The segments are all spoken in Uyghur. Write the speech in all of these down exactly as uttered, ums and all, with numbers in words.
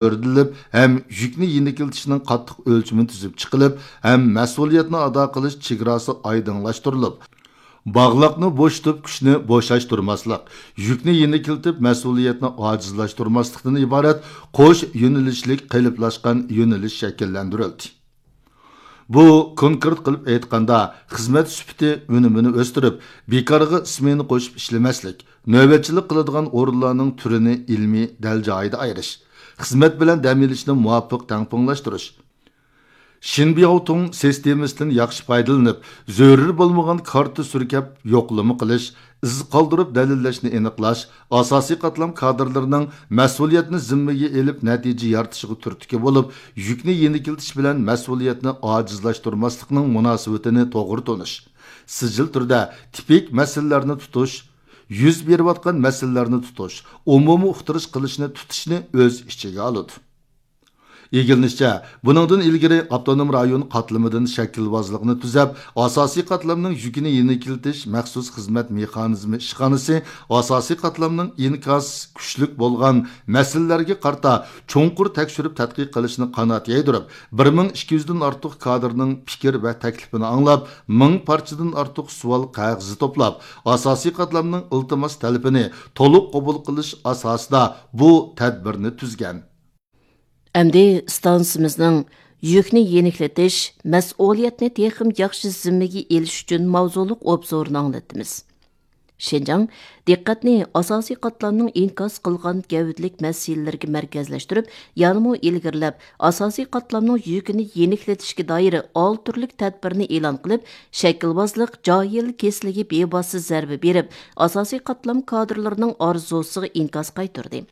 ئۆرلىنىپ ھەم يۈكنى يېنىكلىتىشنىڭ قاتتىق ئۆلچىمى تۈزۈپ چىقىلىپ ھەم مەسئۇلىيەتنى ئادا قىلىش چېگراسى ئايدىڭلاشتۇرۇلۇپ، باغلاقنى بوشىتىپ، كۈچنى بوشاشتۇرماسلىق، يۈكنى يېنىكلىتىپ، مەسئۇلىيەتنى ئاجىزلاشتۇرماسلىقتىن ئىبارەت قوش يۆنىلىشلىك قېلىپلاشقان يۆنىلىش شەكىللەندۈرۈلدى. بۇ كونكرېت قىلىپ ئېيتقاندا، خىزمەت سۈپىتى ئۈنۈمىنى ئۆستۈرۈپ، بىكارغا سمېنا قوشۇپ ئىشلىمەسلىك، نۆۋەتچىلىك قىلىدىغان ئورۇنلارنىڭ تۈرىنى ئىلمىي دەل جايىدا ئايرىش، خىزمەت بىلەن دەم ئېلىشنى مۇۋاپىق تەڭپۇڭلاشتۇرۇش، شىنبياۋتۇڭ سىستېمىسىدىن ياخشى پايدىلىنىپ، زۆرۈر بولمىغان كارتا سۈركەپ يوقلىما قىلىش، ئىز قالدۇرۇپ دەلىللەشنى ئېنىقلاش، ئاساسىي قاتلام كادىرلىرىنىڭ مەسئۇلىيەتنى زىممىگە ئېلىپ نەتىجە يارىتىشىغا تۈرتكە بولۇپ، يۈكنى يېنىكلىتىش بىلەن مەسئۇلىيەتنى ئاجىزلاشتۇرماسلىقنىڭ مۇناسىۋىتىنى توغرا تونۇش، سىجىل تۈردە تىپىك مەسىلىلەرنى تۇتۇش، يۈز بېرىۋاتقان مەسىلىلەرنى تۇتۇش، ئومۇمىي ئۇقتۇرۇش قىلىشنى تۇتۇشنى ئۆز ئىچىگە ئالىدۇ. ئىگىلىنىشىچە، بۇنىڭدىن ئىلگىرى ئاپتونوم رايون قاتلىمىدىن شەكىلۋازلىقنى تۈزەپ، ئاساسىي قاتلامنىڭ يۈكىنى يېنىكلىتىش مەخسۇس خىزمەت مېخانىزمى ئىشخانىسى ئاساسىي قاتلامنىڭ ئىنكاس كۈچلۈك بولغان مەسىلىلەرگە قارىتا چوڭقۇر تەكشۈرۈپ تەتقىق قىلىشنى قانات يايدۇرۇپ، بىر مىڭ ئىككى يۈزدىن ئارتۇق كادىرنىڭ پىكىر ۋە تەكلىپىنى ئاڭلاپ، مىڭ پارچىدىن ئارتۇق سوئال قەغىزى توپلاپ، ئاساسىي قاتلامنىڭ ئىلتىماس تەلىپىنى تولۇق قوبۇل قىلىش ئاساسىدا بۇ تەدبىرنى تۈزگەن. ئەمدى ئىستانسىمىزنىڭ يۈكنى يېنىكلىتىش، مەسئۇلىيەتنى تېخىمۇ ياخشى زىممىگە ئېلىش ئۈچۈن ماۋزۇلۇق ئوبزورىنى ئاڭلىتىمىز. شىنجاڭ دىققەتنى ئاساسىي قاتلامنىڭ ئىنكاس قىلغان گەۋدىلىك مەسىلىلىرىگە مەركەزلەشتۈرۈپ، يەنىمۇ ئىلگىرىلەپ، ئاساسىي قاتلامنىڭ يۈكىنى يېنىكلىتىشكە دائىر ئالتە تۈرلۈك تەدبىرنى ئېلان قىلىپ، شەكىلۋازلىق، جاھىل كېسىلىگە بىۋاسىتە زەربە بېرىپ، ئاساسىي قاتلام كادىرلىرىنىڭ ئارزۇسىغا ئىنكاس قايتۇردى.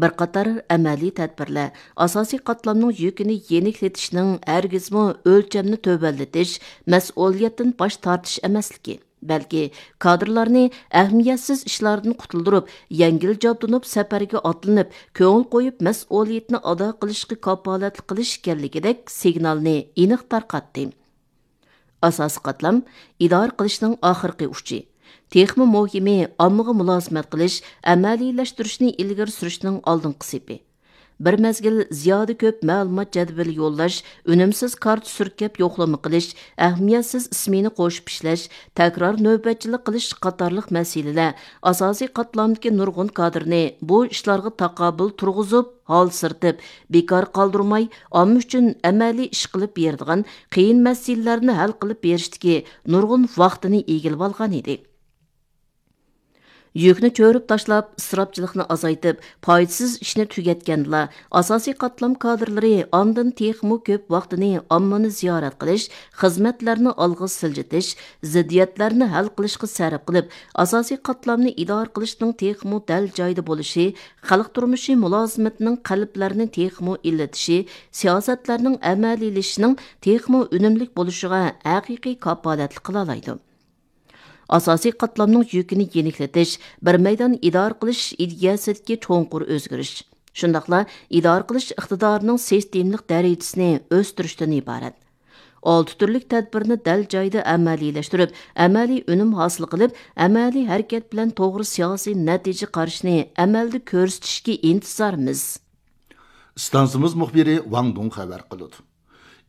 بىر قاتار ئەمەلىي تەدبىرلەر ئاساسىي قاتلامنىڭ يۈكىنى يېنىكلىتىشنىڭ ھەرگىزمۇ ئۆلچەمنى تۆۋەنلىتىش، مەسئۇلىيەتتىن باش تارتىش ئەمەسلىكى، بەلكى كادىرلارنى ئەھمىيەتسىز ئىشلاردىن قۇتۇلدۇرۇپ، يەڭگىل جابدۇنۇپ سەپەرگە ئاتلىنىپ، كۆڭۈل قويۇپ مەسئۇلىيىتىنى ئادا قىلىشقا كاپالەتلىك قىلىش ئىكەنلىكىدەك سىگنالنى ئېنىق تارقاتتى. ئاساسىي قاتلام ئىدارە قىلىشنىڭ ئاخىرقى ئۇچى. تېخىمۇ مۇھىمى، ئاممىغا مۇلازىمەت قىلىش، ئەمەلىيلەشتۈرۈشنى ئىلگىرى سۈرۈشنىڭ ئالدىنقى سېپى. بىر مەزگىل زىيادە كۆپ مەلۇمات جەدۋىلى يوللاش، ئۈنۈمسىز كارتا سۈركەپ يوقلىما قىلىش، ئەھمىيەتسىز ئىسمىنى قوشۇپ ئىشلەش، تەكرار نۆۋەتچىلىك قىلىش قاتارلىق مەسىلىلەر ئاساسىي قاتلامدىكى نۇرغۇن كادىرنى بۇ ئىشلارغا تاقابىل تۇرغۇزۇپ، ھالسىرىتىپ، بىكار قالدۇرماي، ئامما ئۈچۈن ئەمەلىي ئىش قىلىپ بېرىدىغان، قىيىن مەسىلىلەرنى ھەل قىلىپ بېرىشتىكى نۇرغۇن ۋاقتىنى ئىگىلىۋالغان ئىدى. يۈكنى چۆرۈپ تاشلاپ، ئىسراپچىلىقنى ئازايتىپ، پايدىسىز ئىشنى تۈگەتكەندىلا، ئاساسىي قاتلام كادىرلىرى ئاندىن تېخىمۇ كۆپ ۋاقتىنى ئاممىنى زىيارەت قىلىش، خىزمەتلەرنى ئالغا سىلجىتىش، زىددىيەتلەرنى ھەل قىلىشقا سەرپ قىلىپ، ئاساسىي قاتلامنى ئىدارە قىلىشنىڭ تېخىمۇ دەل جايىدا بولۇشى، خەلق تۇرمۇشى مۇلازىمىتىنىڭ قەلبلەرنى تېخىمۇ ئىللىتىشى، سىياسەتلەرنىڭ ئەمەلىيلىشىشىنىڭ تېخىمۇ ئۈنۈملۈك بولۇشىغا ھەقىقىي كاپالەتلىك قىلالايدۇ. ئاساسىي قاتلامنىڭ يۈكىنى يېنىكلىتىش، بىر مەيدان ئىدارە قىلىش ئىدىيەسىدىكى چوڭقۇر ئۆزگىرىش، شۇنداقلا ئىدارە قىلىش ئىقتىدارىنىڭ سىستېمىلىق دەرىجىسىنى ئۆستۈرۈشتىن ئىبارەت. ئالتە تۈرلۈك تەدبىرنى دەل جايىدا ئەمەلىيلەشتۈرۈپ، ئەمەلىي ئۈنۈم ھاسىل قىلىپ، ئەمەلىي ھەرىكەت بىلەن توغرا سىياسىي نەتىجە قارىشىنى ئەمەلدە كۆرسىتىشكە ئىنتىزارمىز. ئىستانسىمىز مۇخبىرى ۋاڭ دۇڭ خەۋەر قىلىدۇ.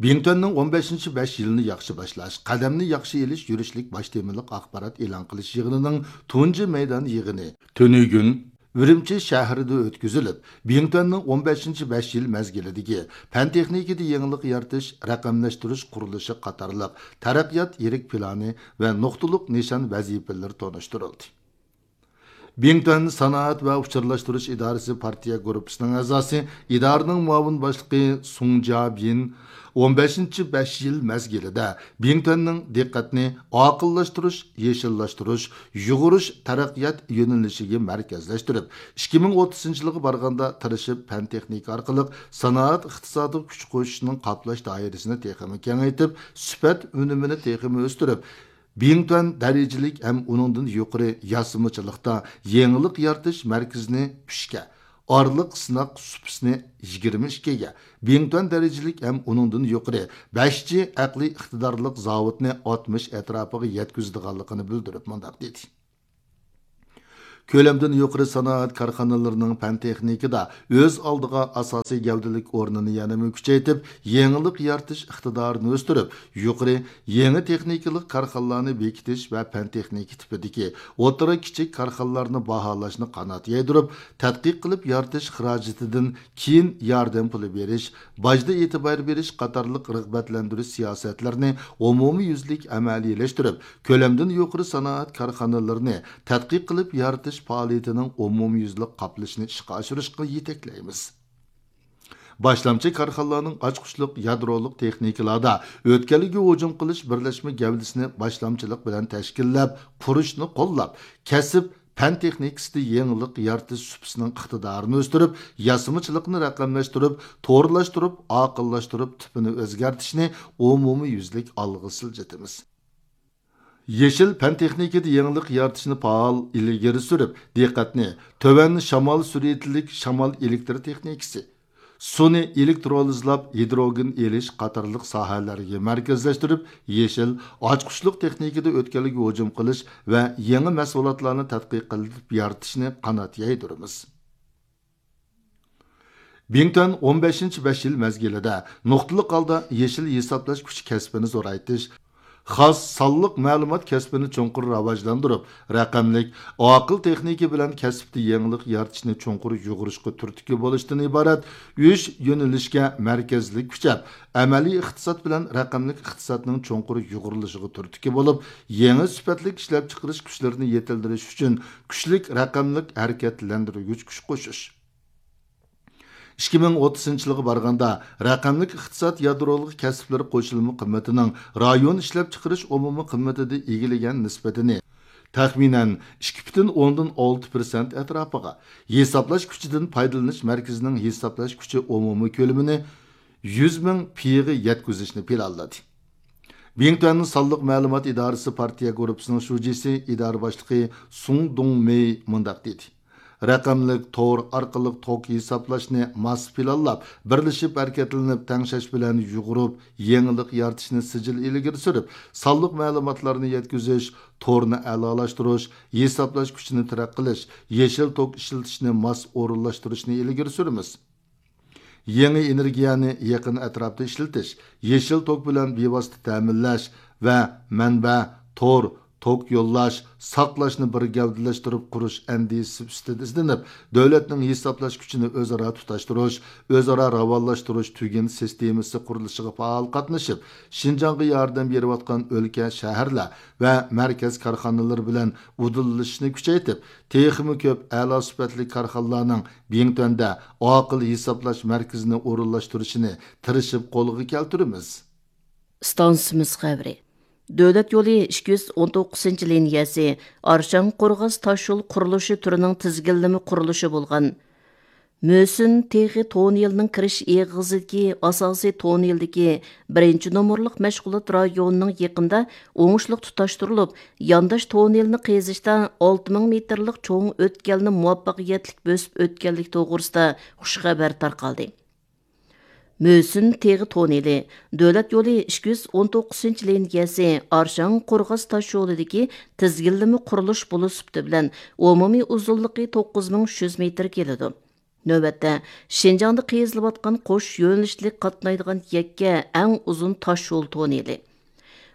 بىڭتۈەننىڭ ئون بەشىنچى بەش يىلىنى ياخشى باشلاش، قەدەمنى ياخشى ئېلىش يۈرۈشلۈك باش تېمىلىق ئاخبارات ئېلان قىلىش يىغىنىنىڭ تۇنجى مەيدان يىغىنى تۈنۈگۈن ئۈرۈمچى شەھىرىدە ئۆتكۈزۈلۈپ، بىڭتۈەننىڭ ئون بەشىنچى بەش يىل مەزگىلىدىكى پەن تېخنىكىدا يېڭىلىق يارىتىش، رەقەملەشتۈرۈش قۇرۇلۇشى قاتارلىق تەرەققىيات يىرىك پىلانى ۋە نۇقتىلىق نىشان ۋەزىپىلىرى تونۇشتۇرۇلدى. بىڭتۈەن سانائەت ۋە ئۇچۇرلاشتۇرۇش ئىدارىسى پارتىيە گۇرۇپپىسىنىڭ ئەزاسى، ئىدارىنىڭ مۇئاۋىن باشلىقى سۇڭ جيابىن ئون بەشىنچى بەش يىل مەزگىلىدە بىڭتۈەننىڭ دىققەتنى ئاقىللاشتۇرۇش، يېشىللاشتۇرۇش، يۇغۇرۇش تەرەققىيات يۆنىلىشىگە مەركەزلەشتۈرۈپ، ئىككى مىڭ ئوتتۇزىنچى يىلغا بارغاندا تىرىشىپ پەن تېخنىكا ئارقىلىق سانائەت ئىقتىسادىغا كۈچ قوشۇشنىڭ قاپلاش دائىرىسىنى تېخىمۇ كېڭەيتىپ، سۈپەت ئۈنۈمىنى تېخىمۇ ئۆستۈرۈپ، بىڭتۈەن دەرىجىلىك ھەم ئۇنىڭدىن يۇقىرى ياسىمىچىلىقتا يېڭىلىق يارىتىش مەركىزىنى ئۈچكە، ئارىلىق سىناق سۇپىسىنى يىگىرمە ئىككىگە، بىڭتۈەن دەرىجىلىك ھەم ئۇنىڭدىن يۇقىرى بەش جى ئەقلىي ئىقتىدارلىق زاۋۇتنى ئاتمىش ئەتراپىغا يەتكۈزىدىغانلىقىنى بىلدۈرۈپ مۇنداق دېدى. كۆلەمدىن يۇقىرى سانائەت كارخانىلىرىنىڭ پەن تېخنىكىدا ئۆز ئالدىغا ئاساسىي گەۋدىلىك ئورنىنى يەنىمۇ كۈچەيتىپ، يېڭىلىق يارىتىش ئىقتىدارىنى ئۆستۈرۈپ، يۇقىرى، يېڭى تېخنىكىلىق كارخانىلارنى بېكىتىش ۋە پەن تېخنىكا تىپىدىكى ئوتتۇرا، كىچىك كارخانىلارنى باھالاشنى قانات يايدۇرۇپ، تەتقىق قىلىپ يارىتىش خىراجىتىدىن كېيىن ياردەم پۇلى بېرىش، باجدا ئېتىبار بېرىش قاتارلىق رىغبەتلەندۈرۈش سىياسەتلىرىنى ئومۇميۈزلۈك ئەمەلىيلەشتۈرۈپ، كۆلەمدىن يۇقىرى سانائەت كارخانىلىرىنى تەتقىق قىلىپ يارىتىش پائالىيىتىنىڭ ئومۇميۈزلۈك قاپلىشىنى ئىشقا ئاشۇرۇشقا يېتەكلەيمىز. باشلامچى كارخانىلارنىڭ ئاچقۇچلۇق يادرولۇق تېخنىكىلاردا ئۆتكەلگە ھۇجۇم قىلىش بىرلەشمە گەۋدىسىنى باشلامچىلىق بىلەن تەشكىللەپ قۇرۇشنى قوللاپ، كەسىپ، پەن تېخنىكىسىدا يېڭىلىق يارىتىش سۇپىسىنىڭ ئىقتىدارىنى ئۆستۈرۈپ، ياسىمىچىلىقنى رەقەملەشتۈرۈپ، تورلاشتۇرۇپ، ئاقىللاشتۇرۇپ، تىپىنى ئۆزگەرتىشنى ئومۇميۈزلۈك ئالغا سىلجىتىمىز. يېشىل پەن تېخنىكىدا يېڭىلىق يارىتىشنى پائال ئىلگىرى سۈرۈپ، دىققەتنى تۆۋەن شامال سۈرئىتىلىك شامال ئېلېكتر تېخنىكىسى، سۇنى ئېلېكترولىزلاپ ھىدروگېن ئېلىش قاتارلىق ساھەلەرگە مەركەزلەشتۈرۈپ، يېشىل، ئاچقۇچلۇق تېخنىكىدا ئۆتكەلگە ھۇجۇم قىلىش ۋە يېڭى مەھسۇلاتلارنى تەتقىق قىلىپ يارىتىشنى قانات يايدۇرىمىز. بىڭتۈەن ئون بەشىنچى بەش يىل مەزگىلىدە نۇقتىلىق ھالدا يېشىل ھېسابلاش كۈچى كەسپىنى زورايتىش، خاس سانلىق مەلۇمات كەسپىنى چوڭقۇر راۋاجلاندۇرۇپ، رەقەملىك، ئاقىل تېخنىكا بىلەن كەسىپتە يېڭىلىق يارىتىشنى چوڭقۇر يۇغۇرۇشقا تۈرتكە بولۇشتىن ئىبارەت ئۈچ يۆنىلىشكە مەركەزلىك كۈچەپ، ئەمەلىي ئىقتىساد بىلەن رەقەملىك ئىقتىسادنىڭ چوڭقۇر يۇغۇرۇلۇشىغا تۈرتكە بولۇپ، يېڭى سۈپەتلىك ئىشلەپچىقىرىش كۈچلىرىنى يېتىلدۈرۈش ئۈچۈن كۈچلۈك رەقەملىك ھەرىكەتلەندۈرگۈچ كۈچ قوشۇش. ئىككى مىڭ ئوتتۇزىنچى يىلغا بارغاندا، رەقەملىك ئىقتىساد يادرولۇق كەسىپلىرى قوشۇلما قىممىتىنىڭ رايون ئىشلەپچىقىرىش ئومۇمىي قىممىتىدە ئىگىلىگەن نىسبىتىنى تەخمىنەن ئىككى پۈتۈن ئوندىن ئالتە پىرسەنت ئەتراپىغا، ھېسابلاش كۈچىدىن پايدىلىنىش مەركىزىنىڭ ھېسابلاش كۈچى ئومۇمىي كۆلىمىنى يۈز مىڭ پىغا يەتكۈزۈشنى پىلانلىدى. بىڭتۈەننىڭ سانلىق مەلۇمات ئىدارىسى پارتىيە گۇرۇپپىسىنىڭ شۇجىسى، ئىدارە باشلىقى سۇڭ دۇڭمېي مۇنداق دېدى: رەقەملىك تور ئارقىلىق توك ھېسابلاشنى ماس پىلانلاپ، بىرلىشىپ ھەرىكەتلىنىپ، تەڭشەش بىلەن يۇغۇرۇپ، يېڭىلىق يارىتىشنى سىجىل ئىلگىرى سۈرۈپ، سانلىق مەلۇماتلارنى يەتكۈزۈش، تورنى ئەلالاشتۇرۇش، ھېسابلاش كۈچىنى تەرەققىي قىلىش، يېشىل توك ئىشلىتىشنى ماس ئورۇنلاشتۇرۇشنى ئىلگىرى سۈرىمىز. يېڭى ئېنېرگىيەنى يېقىن ئەتراپتا ئىشلىتىش، يېشىل توك بىلەن بىۋاسىتە تەمىنلەش ۋە مەنبە، تور، توك يوللاش، ساقلاشنى بىر گەۋدىلەشتۈرۈپ قۇرۇش ئەندىزىسى ئۈستىدە ئىزدىنىپ، دۆلەتنىڭ ھېسابلاش كۈچىنى ئۆزئارا تۇتاشتۇرۇش، ئۆزئارا راۋانلاشتۇرۇش تۈگۈن سىستېمىسى قۇرۇلۇشىغا پائال قاتنىشىپ، شىنجاڭغا ياردەم بېرىۋاتقان ئۆلكە، شەھەرلەر ۋە مەركەز كارخانىلىرى بىلەن ئۇدۇللىشىشنى كۈچەيتىپ، تېخىمۇ كۆپ ئەلا سۈپەتلىك كارخانىلارنىڭ بىڭتۈەندە ئاقىل ھېسابلاش مەركىزىنى ئورۇنلاشتۇرۇشىنى تىرىشىپ قولغا كەلتۈرىمىز. ئىستانسىمىز خەۋىرى. دۆلەت يولى ئىككى يۈز ئون توققۇزىنچى لىنىيەسى ئارشاڭ قورغاس تاشيول قۇرۇلۇشى تۈرىنىڭ تىزگىنلىمە قۇرۇلۇشى بولغان مۆسۈن تېغى تونېلىنىڭ كىرىش ئېغىزىدىكى ئاساسىي تونېلدىكى بىرىنچى نومۇرلۇق مەشغۇلات رايونىنىڭ يېقىندا ئوڭۇشلۇق تۇتاشتۇرۇلۇپ، يانداش تونېلنى قېزىشتا ئالتە مىڭ مېتىرلىق چوڭ ئۆتكەلنى مۇۋەپپەقىيەتلىك بۆسۈپ ئۆتكەنلىكى توغرىسىدا خۇش خەۋەر تارقالدى. مۆسۈن تېغى تونېلى، دۆلەت يولى ئىككى يۈز ئون توققۇزىنچى لىنىيەسى ئارشاڭ قورغاس تاشيولىدىكى تىزگىنلىمە قۇرۇلۇش بولۇش سۈپىتى بىلەن ئومۇمىي ئۇزۇنلۇقى توققۇز مىڭ ئۈچ يۈز مېتىر كېلىدۇ. نۆۋەتتە، شىنجاڭدا قېزىلىۋاتقان قوش يۆنىلىشلىك قاتنايدىغان يەككە ئەڭ ئۇزۇن تاشيول تونېلى.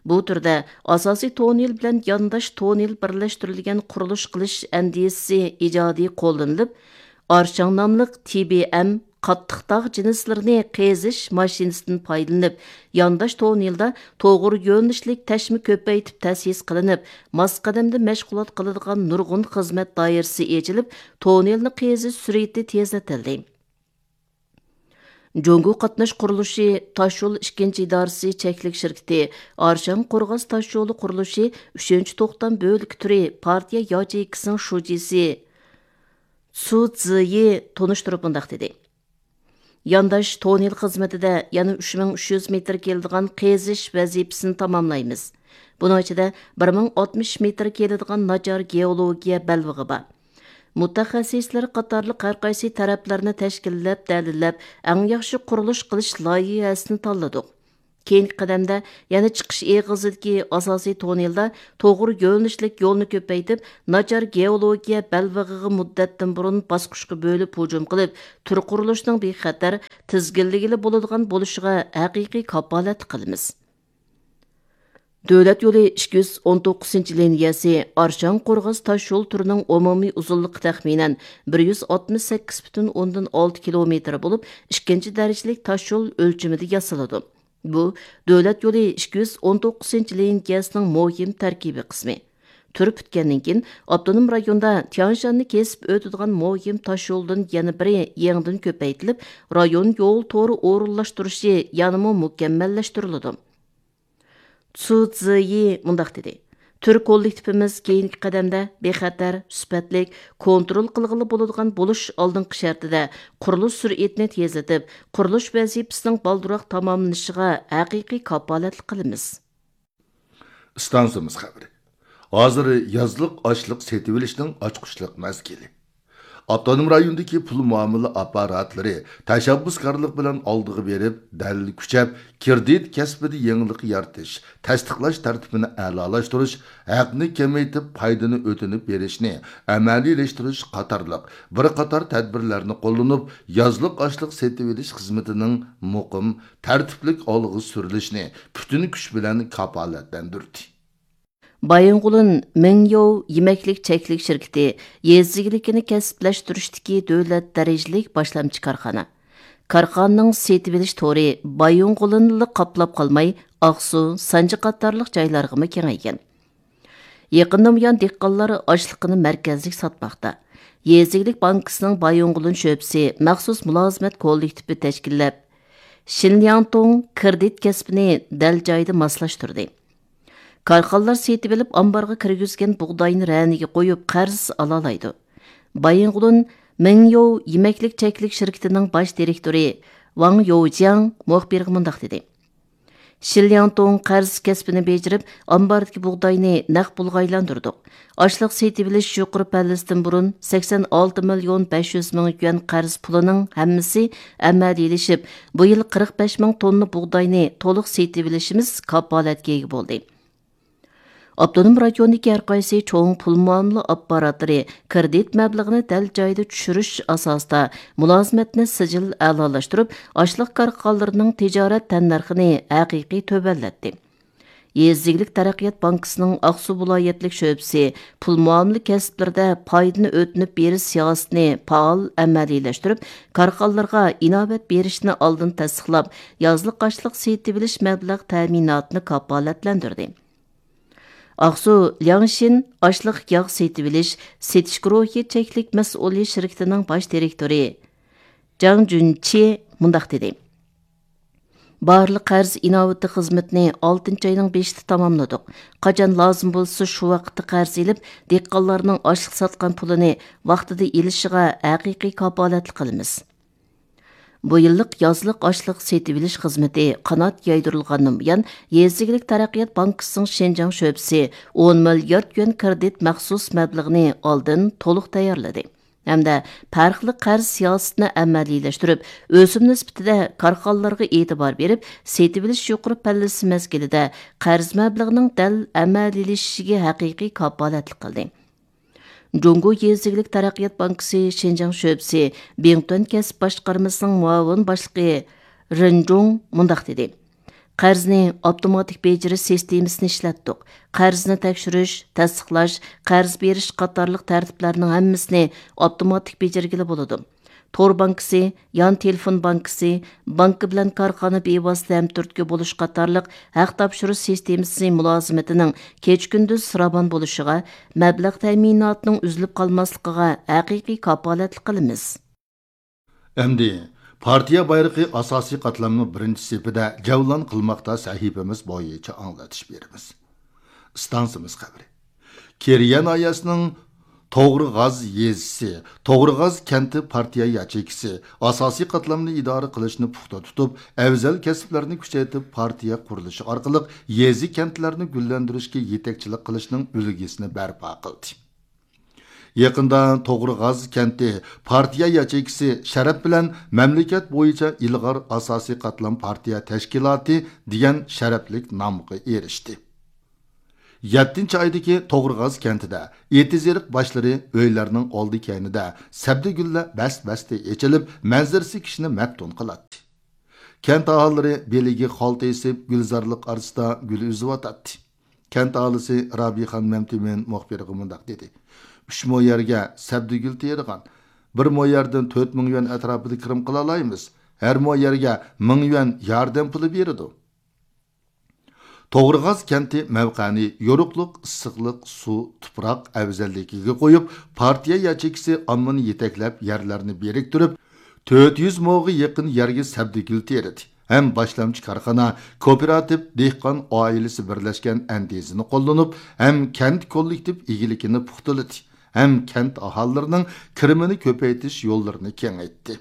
بۇ تۈردە ئاساسىي تونېل بىلەن يانداش تونېل بىرلەشتۈرۈلگەن قۇرۇلۇش قىلىش ئەندىزىسى ئىجادىي قوللىنىلىپ، ئارشاڭ ناملىق تى بى ئەم قاتتىق تاغ جىنسلىرىنى قېزىش ماشىنىسىدىن پايدىلىنىپ، يانداش تونېلدا توغرا يۆنىلىشلىك تەشمە كۆپەيتىپ تەسىس قىلىنىپ، ماس قەدەمدە مەشغۇلات قىلىدىغان نۇرغۇن خىزمەت دائىرىسى ئېچىلىپ، تونېلنى قېزىش سۈرئىتى تېزلىتىلدى. جۇڭگو قاتناش قۇرۇلۇشى تاشيول ئىككىنچى ئىدارىسى چەكلىك شىركىتى ئارشاڭ قورغاس تاشيولى قۇرۇلۇشى ئۈچىنچى توختام بۆلىكى تۈرى پارتىيە ياچېيكىسىنىڭ شۇجىسى سۇ زىيى تونۇشتۇرۇپ مۇنداق دېدى: يانداش تونېل خىزمىتىدە يەنە ئۈچ مىڭ ئۈچ يۈز مېتىر كېلىدىغان قېزىش ۋەزىپىسىنى تاماملايمىز. بۇنىڭ ئىچىدە بىر مىڭ ئاتمىش مېتىر كېلىدىغان ناچار گېئولوگىيە بەلبېغى بار. مۇتەخەسسىسلەر قاتارلىق ھەر قايسى تەرەپلەرنى تەشكىللەپ، دەلىللەپ، ئەڭ ياخشى قۇرۇلۇش قىلىش لايىھەسىنى تاللىدۇق. كېيىنكى قەدەمدە يەنە چىقىش ئېغىزىدىكى ئاساسىي توننېلدا توغرا يۆنىلىشلىك يولنى كۆپەيتىپ، ناچار گېئولوگىيە بەلبېغىغا مۇددەتتىن بۇرۇن باسقۇچقا بۆلۈپ ھۇجۇم قىلىپ، تۈر قۇرۇلۇشىنىڭ بىخەتەر، تىزگىنلىگىلى بولىدىغان بولۇشىغا ھەقىقىي كاپالەتلىك قىلىمىز. دۆلەت يولى ئىككى يۈز ئون توققۇزىنچى لىنىيەسى ئارشاڭ قورغاس تاشيول تۈرىنىڭ ئومۇمىي ئۇزۇنلۇقى تەخمىنەن بىر يۈز ئاتمىش سەككىز پۈتۈن ئوندىن ئالتە كىلومېتىر بولۇپ، ئىككىنچى دەرىجىلىك تاشيول ئۆلچىمىدە ياسىلىدۇ. بۇ دۆلەت يولى ئىككى يۈز ئون توققۇزىنچى لىنىيەسىنىڭ مۇھىم تەركىبىي قىسمى. تۈر پۈتكەندىن كېيىن، ئاپتونوم رايوندا تيەنشاننى كېسىپ ئۆتىدىغان مۇھىم تاشيولدىن يەنە بىرى يېڭىدىن كۆپەيتىلىپ، رايون يول تورى ئورۇنلاشتۇرۇشى يەنىمۇ مۇكەممەللەشتۈرۈلىدۇ. چۇ زىيى مۇنداق دېدى: تۈر كوللېكتىپىمىز كېيىنكى قەدەمدە بىخەتەر، سۈپەتلىك، كونترول قىلغىلى بولىدىغان بولۇش ئالدىنقى شەرتىدە قۇرۇلۇش سۈرئىتىنى تېزلىتىپ، قۇرۇلۇش ۋەزىپىسىنىڭ بالدۇرراق تاماملىنىشىغا ھەقىقىي كاپالەتلىك قىلىمىز. ئىستانسىمىز خەۋىرى. ھازىر يازلىق ئاشلىق سېتىۋېلىشنىڭ ئاچقۇچلۇق مەزگىلى. ئاپتونوم رايوندىكى پۇل مۇئامىلە ئاپپاراتلىرى تەشەببۇسكارلىق بىلەن ئالدىغا بېرىپ، دەلىل كۈچەپ، كىردىت كەسپىدە يېڭىلىق يارىتىش، تەستىقلاش تەرتىپىنى ئەلالاشتۇرۇش، ھەقنى كېمەيتىپ، پايدىنى ئۆتۈنۈپ بېرىشنى ئەمەلىيلەشتۈرۈش قاتارلىق بىر قاتار تەدبىرلەرنى قوللىنىپ، يازلىق ئاشلىق سېتىۋېلىش خىزمىتىنىڭ مۇقىم، تەرتىپلىك ئالغا سۈرۈلۈشىنى پۈتۈن كۈچ بىلەن كاپالەتلەندۈردى. بايىنغولىن مىڭيوۋ يېمەكلىك چەكلىك شىركىتى يېزا ئىگىلىكىنى كەسىپلەشتۈرۈشتىكى دۆلەت دەرىجىلىك باشلامچى كارخانا. كارخانىنىڭ سېتىۋېلىش تورى بايىنغولىنلا قاپلاپ قالماي، ئاقسۇ، سانجى قاتارلىق جايلارغىمۇ كېڭەيگەن. يېقىندا بۇيان دېھقانلار ئاشلىقىنى مەركەزلىك ساتماقتا. يېزا ئىگىلىك بانكىسىنىڭ بايىنغولىن شۆبىسى مەخسۇس مۇلازىمەت كوللېكتىپى تەشكىللەپ، شىنلياڭتۇڭ كىردىت كەسپىنى دەل جايىدا ماسلاشتۇردى. كارخانىلار سېتىۋېلىپ، ئامبارغا كىرگۈزگەن بۇغداينى رەنىگە قويۇپ، قەرز ئالالايدۇ. بايىنغولىن مىڭيوۋ يېمەكلىك چەكلىك شىركىتىنىڭ باش دىرېكتورى ۋاڭ يوجياڭ مۇخبىرغا مۇنداق دېدى: شىلياڭتۇڭ قەرز كەسپىنى بېجىرىپ، ئامباردىكى بۇغداينى نەق پۇلغا ئايلاندۇردۇق. ئاشلىق سېتىۋېلىش يۇقىرى پەللىسىدىن بۇرۇن سەكسەن ئالتە مىليون بەش يۈز مىڭ يۈەن قەرز پۇلىنىڭ ھەممىسى ئەمەلىيلىشىپ، بۇ يىل قىرىق بەش مىڭ توننا بۇغداينى تولۇق سېتىۋېلىشىمىز كاپالەتكە ئىگە بولدى. ئاپتونوم رايوندىكى ھەرقايسى چوڭ پۇل مۇئامىلە ئاپپاراتلىرى كىردىت مەبلىغىنى دەل جايىدا چۈشۈرۈش ئاساسىدا مۇلازىمەتنى سىجىل ئەلالاشتۇرۇپ، ئاشلىق كارخانىلىرىنىڭ تىجارەت تەننەرخىنى ھەقىقىي تۆۋەنلەتتى. يېزا ئىگىلىك تەرەققىيات بانكىسىنىڭ ئاقسۇ ۋىلايەتلىك شۆبىسى پۇل مۇئامىلە كەسىپلىرىدە پايدىنى ئۆتۈنۈپ بېرىش سىياسىتىنى پائال ئەمەلىيلەشتۈرۈپ، كارخانىلارغا ئىناۋەت بېرىشنى ئالدىن تەستىقلاپ، يازلىق ئاشلىق سېتىۋېلىش مەبلەغ تەمىناتىنى كاپالەتلەندۈردى. ئاقسۇ لياڭشىن ئاشلىق ياغ سېتىۋېلىش، سېتىش گۇرۇھى چەكلىك مەسئۇلىيەت شىركىتىنىڭ باش دىرېكتورى جاڭ جۈنچى مۇنداق دېدى: بارلىق قەرز ئىناۋىتى خىزمىتىنى ئالتىنچى ئاينىڭ بېشىدا تاماملىدۇق. قاچان لازىم بولسا، شۇ ۋاقىتتا قەرز ئېلىپ، دېھقانلارنىڭ ئاشلىق ساتقان پۇلىنى ۋاقتىدا ئېلىشىغا ھەقىقىي كاپالەتلىك قىلىمىز. بۇ يىللىق يازلىق ئاشلىق سېتىۋېلىش خىزمىتى قانات يايدۇرۇلغاندىن بۇيان، يېزا ئىگىلىك تەرەققىيات بانكىسىنىڭ شىنجاڭ شۆبىسى ئون مىليارد يۈەن كىرېدىت مەخسۇس مەبلىغىنى ئالدىن تولۇق تەييارلىدى ھەمدە پەرقلىق قەرز سىياسىتىنى ئەمەلىيلەشتۈرۈپ، ئۆسۈم نىسبىتىدە كارخانىلارغا ئېتىبار بېرىپ، سېتىۋېلىش يۇقىرى پەللىسى مەزگىلىدە قەرز مەبلىغىنىڭ دەل ئەمەلىيلىشىشىگە ھەقىقىي كاپالەتلىك قىلدى. جۇڭگو يېزا ئىگىلىك تەرەققىيات بانكىسى شىنجاڭ شۆبىسى بىڭتۈەن كەسىپ باشقارمىسىنىڭ مۇئاۋىن باشلىقى رېن جۇڭ مۇنداق دېدى: قەرزنى ئاپتوماتىك بېجىرىش سىستېمىسىنى ئىشلەتتۇق. قەرزنى تەكشۈرۈش، تەستىقلاش، قەرز بېرىش قاتارلىق تەرتىپلەرنىڭ ھەممىسىنى ئاپتوماتىك بېجىرگىلى بولىدۇ. تور بانكىسى، يان تېلېفون بانكىسى، بانكا بىلەن كارخانا بىۋاسىتە ھەمتۈرتكە بولۇش قاتارلىق ھەق تاپشۇرۇش سىستېمىسى مۇلازىمىتىنىڭ كېچە-كۈندۈز راۋان بولۇشىغا، مەبلەغ تەمىناتىنىڭ ئۈزۈلۈپ قالماسلىقىغا ھەقىقىي كاپالەتلىك قىلىمىز. ئەمدى پارتىيە بايرىقى ئاساسىي قاتلامنىڭ بىرىنچى سېپىدە جەۋلان قىلماقتا سەھىپىمىز بويىچە ئاڭلىتىش بېرىمىز. ئىستانسىمىز خەۋىرى. كېرىيە ناھىيەسىنىڭ توغرىغاز يېزىسى، توغرىغاز كەنتى پارتىيە ياچېيكىسى ئاساسىي قاتلامنى ئىدارە قىلىشنى پۇختا تۇتۇپ، ئەۋزەل كەسىپلەرنى كۈچەيتىپ، پارتىيە قۇرۇلۇشى ئارقىلىق يېزا، كەنتلەرنى گۈللەندۈرۈشكە يېتەكچىلىك قىلىشنىڭ ئۈلگىسىنى بەرپا قىلدى. يېقىندا توغرىغاز كەنتى پارتىيە ياچېيكىسى شەرەپ بىلەن مەملىكەت بويىچە ئىلغار ئاساسىي قاتلام پارتىيە تەشكىلاتى دېگەن شەرەپلىك نامغا ئېرىشتى. يەتتىنچى ئايدىكى توغرىغاز كەنتىدە ئېتىز-ئېرىق باشلىرى، ئۆيلەرنىڭ ئالدى-كەينىدە سەبدىگۈللەر بەس-بەستە ئېچىلىپ، مەنزىرىسى كىشىنى مەپتۇن قىلاتتى. كەنت ئاھالىلىرى بېلىگە خالتا ئېسىپ، گۈلزارلىق ئارىسىدا گۈل ئۈزۈۋاتاتتى. كەنت ئاھالىسى رابىيخان مەمتىمىن مۇخبىرغا مۇنداق دېدى: «ئۈچ مو يەرگە سەبدىگۈل تېرىغان، بىر مو يەردىن تۆت مىڭ يۈەن ئەتراپىدا كىرىم قىلالايمىز. ھەر مو يەرگە مىڭ يۈەن ياردەم پۇلى بېرىدۇ.» توغرىغاز كەنتى مەۋقەنى يورۇقلۇق، ئىسسىقلىق، سۇ، تۇپراق ئەۋزەللىكىگە قويۇپ، پارتىيە ياچېيكىسى ئاممىنى يېتەكلەپ، يەرلەرنى بىرىكتۈرۈپ، تۆت يۈز موغا يېقىن يەرگە سەبدىگۈل تېرىدى ھەم باشلامچى كارخانا، كوپىراتىپ، دېھقان ئائىلىسى بىرلەشكەن ئەندىزىنى قوللىنىپ، ھەم كەنت كوللېكتىپ ئىگىلىكىنى پۇختىلىدى، ھەم كەنت ئاھالىلىرىنىڭ كىرىمىنى كۆپەيتىش يوللىرىنى كېڭەيتتى.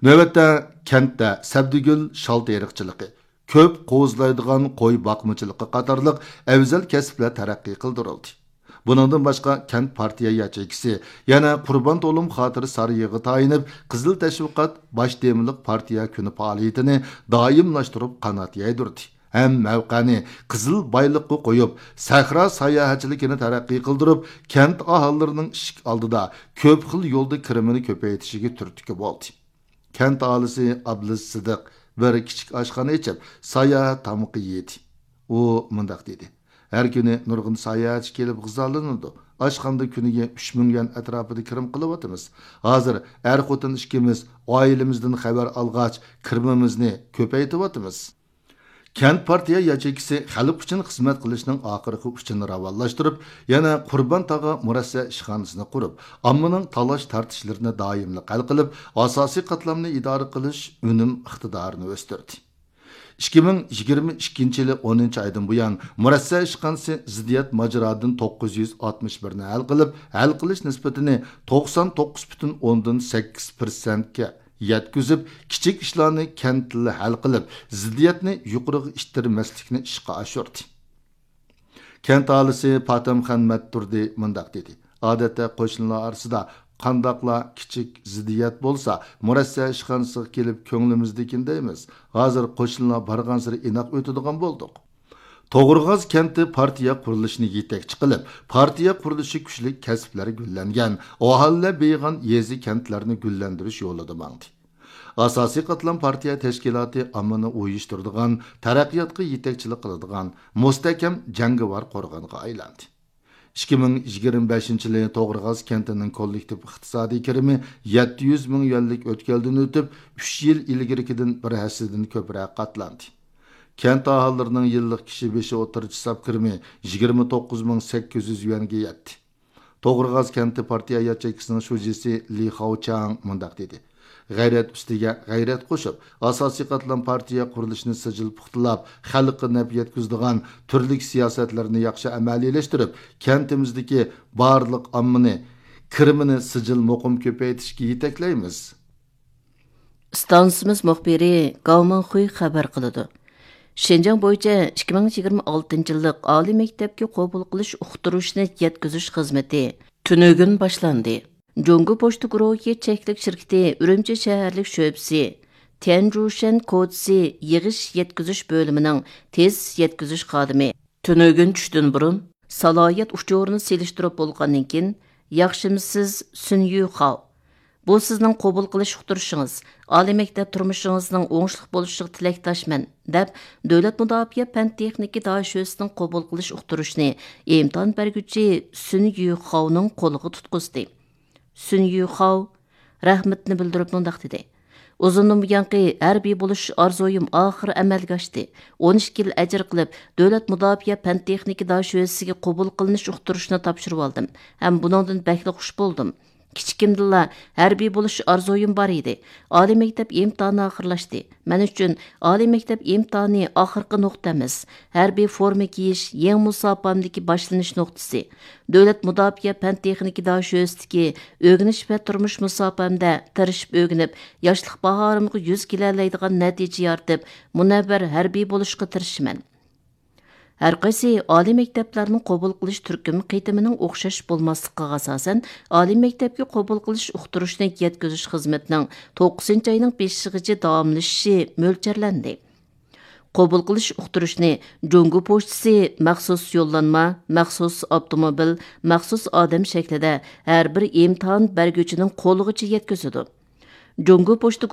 نۆۋەتتە كەنتتە سەبدىگۈل، شال تېرىقچىلىقى، كۆپ قوزىلايدىغان قوي باقمىچىلىقى قاتارلىق ئەۋزەل كەسىپلەر تەرەققىي قىلدۇرۇلدى. بۇنىڭدىن باشقا، كەنت پارتىيە ياچېيكىسى يەنە قۇربان تولۇم خاتىرە سارىيىغا تايىنىپ، قىزىل تەشۋىقات باش تېمىلىق پارتىيە كۈنى پائالىيىتىنى دائىملاشتۇرۇپ قانات يايدۇردى ھەم مەۋقەنى قىزىل بايلىققا قويۇپ، سەھرا ساياھەتچىلىكىنى تەرەققىي قىلدۇرۇپ، كەنت ئاھالىلىرىنىڭ ئىشىك ئالدىدا كۆپ خىل يولدا كىرىمىنى كۆپەيتىشىگە تۈرتكە بولدى. كەنت ئاھالىسى ئابلىز سىدىق بىر كىچىك ئاشخانا ئېچىپ، ساياھەت تامىقى يېدى. ئۇ مۇنداق دېدى: «ھەر كۈنى نۇرغۇن ساياھەتچى كېلىپ غىزالىنىدۇ. ئاشخانىدا كۈنىگە ئۈچ مىڭ يۈەن ئەتراپىدا كىرىم قىلىۋاتىمىز. ھازىر ئەر-خوتۇن ئىككىمىز ئائىلىمىزدىن خەۋەر ئالغاچ، كىرىمىمىزنى كۆپەيتىۋاتىمىز.» كەنت پارتىيە ياچېيكىسى خەلق ئۈچۈن خىزمەت قىلىشنىڭ ئاخىرقى ئۇچىنى راۋانلاشتۇرۇپ، يەنە قۇربان تاغا مۇرەسسە ئىشخانىسىنى قۇرۇپ، ئاممىنىڭ تالاش-تارتىشلىرىنى دائىملىق ھەل قىلىپ، ئاساسىي قاتلامنى ئىدارە قىلىش ئۈنۈم ئىقتىدارىنى ئۆستۈردى. ئىككى مىڭ يىگىرمە ئىككىنچى يىلى ئونىنچى ئايدىن بۇيان، مۇرەسسە ئىشخانىسى زىددىيەت ماجىرادىن توققۇز يۈز ئاتمىش بىرنى ھەل قىلىپ، ھەل قىلىش نىسبىتىنى توقسان توققۇز پۈتۈن ئوندىن سەككىز پىرسەنتكە يەتكۈزۈپ، كىچىك ئىشلارنى كەنتتىلا ھەل قىلىپ، زىددىيەتنى يۇقىرىغا ئىتتىرمەسلىكنى ئىشقا ئاشۇردى. كەنت ئاھالىسى پاتەمخان مەتتۇردى مۇنداق دېدى: «ئادەتتە قوشنىلار ئارىسىدا قانداقلا كىچىك زىددىيەت بولسا، مۇرەسسە ئىشخانىسىغا كېلىپ كۆڭلىمىزدىكىنى دەيمىز. ھازىر قوشنىلار بارغانسېرى ئىناق ئۆتىدىغان بولدۇق.» توغرىغاز كەنتى پارتىيە قۇرۇلۇشىنى يېتەكچى قىلىپ، پارتىيە قۇرۇلۇشى كۈچلۈك كەسىپلەر گۈللەنگەن، ئاھالىلەر بېيىغان يېزا-كەنتلەرنى گۈللەندۈرۈش يولىدا ماڭدى. ئاساسىي قاتلام پارتىيە تەشكىلاتى ئاممىنى ئۇيۇشتۇرىدىغان، تەرەققىياتقا يېتەكچىلىك قىلىدىغان مۇستەھكەم جەڭگىۋار قورغانغا ئايلاندى. ئىككى مىڭ يىگىرمە بەشىنچى يىلى توغرىغاز كەنتىنىڭ كوللېكتىپ ئىقتىسادىي كىرىمى يەتتە يۈز مىڭ يۈەنلىك ئۆتكەلدىن ئۆتۈپ، ئۈچ يىل ئىلگىرىكىدىن بىر ھەسسىدىن كۆپرەك قاتلاندى. كەنت ئاھالىلىرىنىڭ يىللىق كىشى بېشى ئوتتۇرىچە ساپ كىرىمى يىگىرمە توققۇز مىڭ سەككىز يۈز يۈەنگە يەتتى. توغرىغاز كەنتى پارتىيە ياچېيكىسىنىڭ شۇجىسى لى خاۋچاڭ مۇنداق دېدى: «غەيرەت ئۈستىگە غەيرەت قوشۇپ، ئاساسىي قاتلام پارتىيە قۇرۇلۇشىنى سىجىل پۇختىلاپ، خەلققە نەپ يەتكۈزىدىغان تۈرلۈك سىياسەتلەرنى ياخشى ئەمەلىيلەشتۈرۈپ، كەنتىمىزدىكى بارلىق ئاممىنى كىرىمىنى سىجىل مۇقىم كۆپەيتىشكە يېتەكلەيمىز.» ئىستانسىمىز مۇخبىرى گاۋ مىڭخۇي خەۋەر قىلىدۇ. شىنجاڭ بويىچە ئىككى مىڭ يىگىرمە ئالتىنچى يىللىق ئالىي مەكتەپكە قوبۇل قىلىش ئۇقتۇرۇشنى يەتكۈزۈش خىزمىتى تۈنۈگۈن باشلاندى. جۇڭگو پوچتا گۇرۇھى چەكلىك شىركىتى ئۈرۈمچى شەھەرلىك شۆبىسى تيەنجۇشەن كوچىسى يىغىش يەتكۈزۈش بۆلۈمىنىڭ تېز يەتكۈزۈش خادىمى تۈنۈگۈن چۈشتىن بۇرۇن سالاھىيەت ئۇچۇرىنى سېلىشتۇرۇپ بولغاندىن كېيىن، «ياخشىمۇسىز، سۈن يۈخاۋ؟ بۇ سىزنىڭ قوبۇل قىلىش ئۇقتۇرۇشىڭىز. ئالىي مەكتەپ تۇرمۇشىڭىزنىڭ ئوڭۇشلۇق بولۇشىغا تىلەكداشمەن» دەپ، دۆلەت مۇداپىئە پەن تېخنىكا داشۆسىنىڭ قوبۇل قىلىش ئۇقتۇرۇشىنى ئىمتىھان بەرگۈچى سۈن يۈخاۋنىڭ قولىغا تۇتقۇزدى. سۈن يۈخاۋ رەھمىتىنى بىلدۈرۈپ مۇنداق دېدى: «ئۇزۇندىن بۇيانقى ھەربىي بولۇش ئارزۇيۇم ئاخىرى ئەمەلگە ئاشتى. ئون ئىككى يىل ئەجىر قىلىپ، دۆلەت مۇداپىئە پەن تېخنىكا داشۆسىسىگە قوبۇل قىلىنىش ئۇقتۇرۇشىنى تاپشۇرۇۋالدىم ھەم بۇنىڭدىن بەكلا خۇش بولدۇم. كىچىكىمدىنلا ھەربىي بولۇش ئارزۇيۇم بار ئىدى. ئالىي مەكتەپ ئىمتىھانى ئاخىرلاشتى. مەن ئۈچۈن ئالىي مەكتەپ ئىمتىھانى ئاخىرقى نۇقتا ئەمەس، ھەربىي فورما كىيىش يېڭى مۇساپامدىكى باشلىنىش نۇقتىسى. دۆلەت مۇداپىئە پەن تېخنىكا داشۆسىسىدىكى ئۆگىنىش ۋە تۇرمۇش مۇساپامدە تىرىشىپ ئۆگىنىپ، ياشلىق باھارىمغا يۈز كېلەلەيدىغان نەتىجە يارىتىپ، مۇنەۋۋەر ھەربىي بولۇشقا تىرىشىمەن.» ھەرقايسى ئالىي مەكتەپلەرنىڭ قوبۇل قىلىش تۈركۈم قېتىمىنىڭ ئوخشاش بولماسلىقىغا ئاساسەن، ئالىي مەكتەپكە قوبۇل قىلىش ئۇقتۇرۇشنى يەتكۈزۈش خىزمىتىنىڭ توققۇزىنچى ئاينىڭ بېشىغىچە داۋاملىشىشى مۆلچەرلەندى. قوبۇل قىلىش ئۇقتۇرۇشنى جۇڭگو پوچتىسى مەخسۇس يوللانما، مەخسۇس ئاپتوموبىل، مەخسۇس ئادەم شەكلىدە ھەر بىر ئىمتىھان بەرگۈچىنىڭ قولىغىچە يەتكۈزىدۇ. جۇڭگو پوچتا